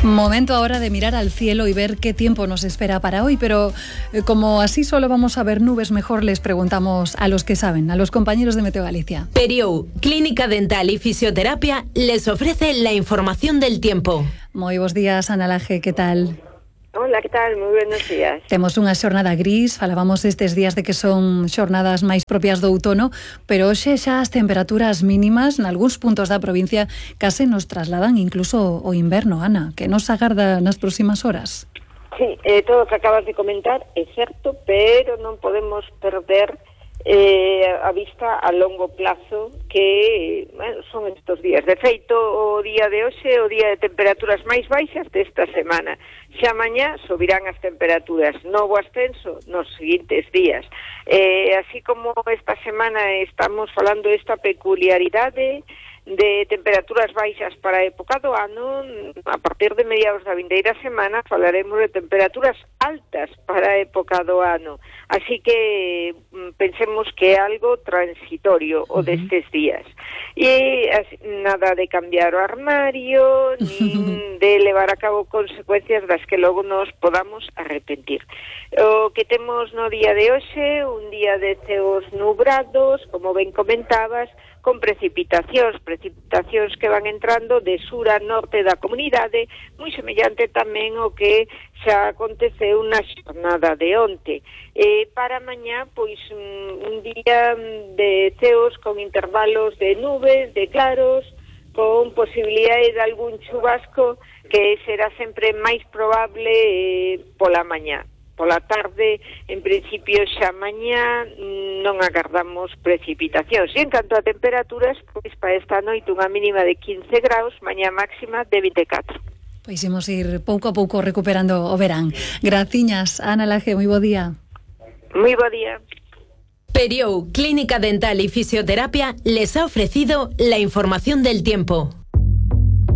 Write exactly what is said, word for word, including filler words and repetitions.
Momento ahora de mirar al cielo y ver qué tiempo nos espera para hoy, pero eh, como así solo vamos a ver nubes, mejor les preguntamos a los que saben, a los compañeros de Meteo Galicia. Periou, Clínica Dental y Fisioterapia, les ofrece la información del tiempo. Moi bons días, Ana Laje, que tal? Hola, que tal? Moi buenos días. Temos unha xornada gris, falábamos estes días de que son xornadas máis propias do outono, pero hoxe xa as temperaturas mínimas nalgúns puntos da provincia case nos trasladan incluso o inverno, Ana, que nos agarda nas próximas horas. Sí, eh, todo o que acabas de comentar é certo, pero non podemos perder eh, a vista a longo plazo que bueno, son estes días. De feito, o día de hoxe é o día de temperaturas máis baixas desta semana. Xa mañá subirán as temperaturas, novo ascenso nos seguintes días. Eh, así como esta semana estamos falando desta peculiaridade de temperaturas baixas para a época do ano, a partir de mediados da vindeira semana falaremos de temperaturas altas para a época do ano. Así que pensemos que é algo transitorio o destes días. E así, nada de cambiar o armario, nin de levar a cabo consecuencias das que logo nos podamos arrepentir. O que temos no día de hoxe, un día de ceos nubrados, como ben comentabas, con precipitacións, precipitacións que van entrando de sur a norte da comunidade, moi semellante tamén o que xa aconteceu na xornada de onte. E para mañá, pois, un día de ceos con intervalos de nubes, de claros, con posibilidade de algún chubasco que será sempre máis probable eh, pola mañá. Pola tarde, en principio xa mañá non agardamos precipitacións. E en canto a temperaturas, pois para esta noite unha mínima de quince graus, mañá máxima de vinte e catro. Pois imos ir pouco a pouco recuperando o verán. Graciñas, Ana Laje, moi bo día. Moi bo día. Periou, Clínica Dental y Fisioterapia, les ha ofrecido la información del tiempo.